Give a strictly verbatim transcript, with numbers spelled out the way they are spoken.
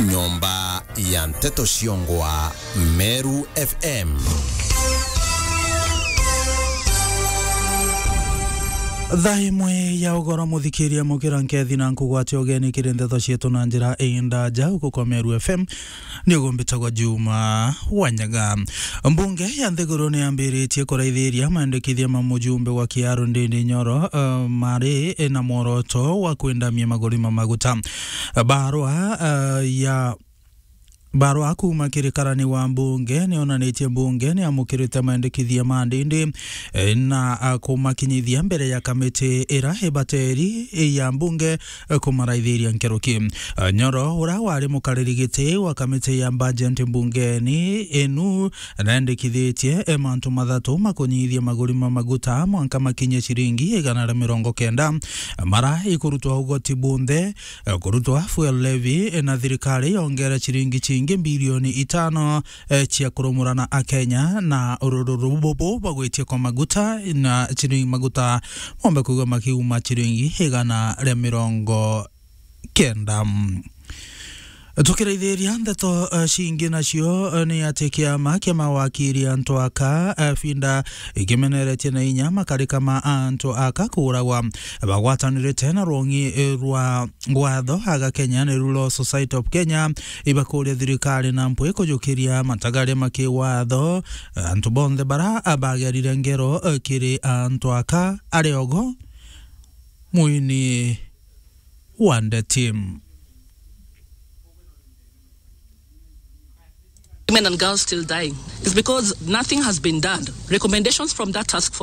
Nyomba ya nteto ciongwa Meru F M. Thaa imwe ya ugoro, muthikiria, mukira nkethi na nkugwatia ugeni kiri nteto cietu na njira indaja uku kwa Meru F M. Ni ugumbitagwa Juma Wanyaga. Mbunge ya nthiguru ni yambiritie kuraithiria maendekithia ma mujumbe wa Kiaru Ndindi Nyoro, eh, mari na mworoto wa kwendamia maguri ma maguta. Barua, eh, ya Barua kuuma kiri karani wa mbunge ni yonanitie mbunge ni yamukirite maendekithia ma Ndindi, eh, na, ah, kumakinyithia mbere ya kamiti ira ibateri ya mbunge, eh, kumaraithiria nkuruki. Eh, Nyoro, uria wari mukariri giti wa kamiti ya budget mbungeni inu, naendekithitie, eh, mantu mathatu makunyithia maguri ma maguta mwanka makinye ciringi igana ria mirongo kenda, mara ikurutwa ugoti bunthe, eh, kurutwa fuel levy, eh, na thirikari yongere ciringi cingi bilioni itano, eh, cia kurumura na Akenya na ururu bubu bagwitie kwa maguta na ciringi maguta mombe kuigwa makiuma ciringi igana ria mirongo kenda. Tukiraithiria ndeto, eh, cingi nacio, eh, ni ati kiama kia mawakiri antu aka, eh, finda ikimeneretie na inya makarika ma antu aka kuuragwa bagwatanirite na rwong'i, eh, rwa watho aga Kenya, niru Law Society of Kenya, ibakuria thirikari na mpwi kujukiria matagaria ma kiwatho, eh, antu bonthe bara bagerire ngero, eh, kiri antu aka ari ogo mwini wa ndeti. Women and girls still dying. It's because nothing has been done. Recommendations from that task force